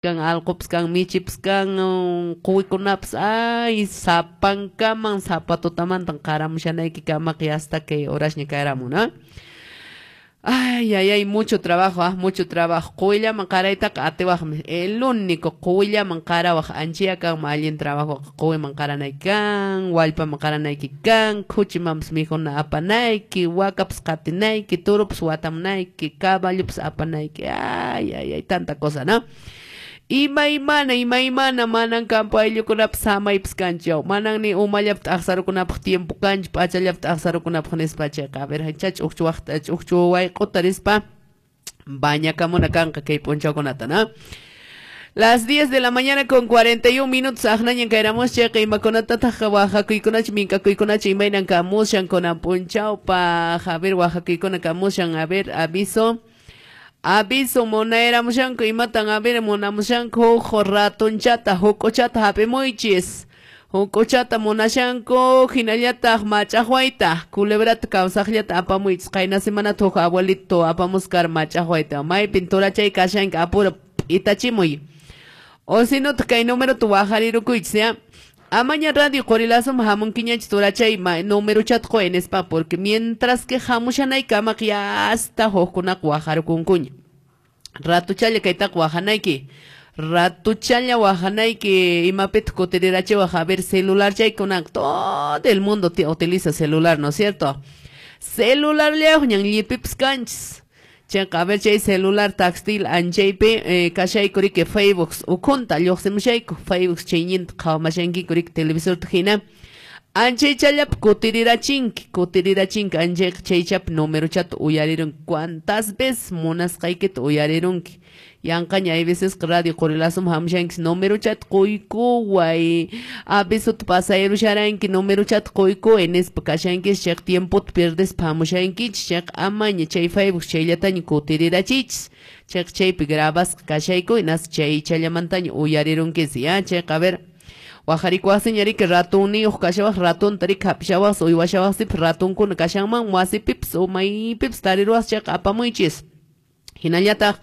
Kan allqupas kan, michipas kan, quwikunapas, ay, sapankaman sapa tutamantan qaramushanayki kamaqa hasta kay horasña kayramun, ¿no? Ay, ay, ay, mucho trabajo, ah, mucho trabajo. Quwillaman qaraytaqa atiwaqmi. El único quwillaman qarawaq anchaya kanman allin trabajo. Quwiman qaranayki kan, wallpaman qaranayki kan, khuchimanpas mikhuna apanayki, wakapas qatinayki, turupas watamunayki, caballopas apanayki. Ay, ay, ay, tanta cosa, ¿no? Imaymana, imaymana, manan campo ayllukunapas samaypas kanchu. Manan ni umallapi t'aqsarukunapaq tiempo kanchu, p'achallapi t'aqsarukunapaq nispa chayqa. A ver, chach ukchu waqta, ukchu wayq'uta rispa bañakamuna kanqa kay p'unchawkunata, ¿no? Las 10 de la mañana con 41 minutos, aqnañan kayramus chayqa imakunatataq waqakuykunachu, mink'akuykunachu imaynan kamushan kunan p'unchawpaq. A ver, waqakuykuna kamushan, a ver, aviso. Aviso munayramushanku imatan, a ver, munamushanku huk ratonchata, huk'uchata hap'imuychis. Huk'uchata munashanku hinallataq mach'aqwayta, culebrata kawsaqllata apamuychis. Qayna semanata huk abuelito apamuskar mach'aqwayta. Maypin turachay kashanki apura p'itachimuy. O si no, kay numerota waqharirukuychis, ya. Amaña radio Qorilasum hamunkiñachu turachay numerochata quy nispa, porque mientras que hamushanaykamaq ya hasta hukkunaqa waqharukunkuña. Ratuchalla kaytaqa waqhanayki. Ratuchalla waqhanayki imapitaq kutirirachiwaq, a ver, celular chaykunaqa todo el mundo utiliza celular, ¿no es cierto? Celular ñan llipipas kanchis. Chayqa, a ver, chay celular textil anchaypi kashayku riki Facebook ukhunta lluqsimushayku, Facebook chayñinta qhawamashankiku riki televisorta hina. Anchaychallapi kutirirachinki, kutirirachinki, anchayqa chaychapi numerochata uyarirunki. ¿Cuántas veces munasqaykita uyarirunki? Yanqaña hay veces radio Qorilasum hamushanki numerochata quykuway, avisota pasayarusharanki numerochata quykuway nispa kashankis, chayqa tiempota pierdespa hamushankichis, chayqa amaña chay Facebook chayllataña kutirirachiychis, chayqa chaypi grabasqa kashayku hinas chaychallamantaña uyarirunkis, ya, chayqa, a ver, waqharikuwaqsiña riki ratunniyuq kashawaq, ratunta riki hap'ishawaqsi, uywashawaqsipas ratunkuna kashanman, wasipipas o maypipas tariruwaq chayqa apamuychis. Hinallataq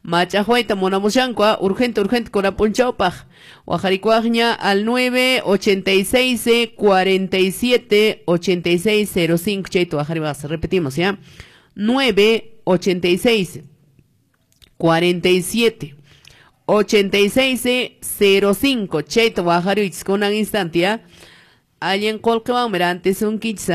mach'aqwayta munamushanku, urgente, urgente kunan p'unchawpaq. Waqharikuwaqña al 9 86 47 86 05 chayta waqhariwaqsi. Repetimos, ¿ya? 9 86 47 86 05 chayta waqhariychis kunan instante, ¿ya? Allin qullqiwanmi rantisunkichis.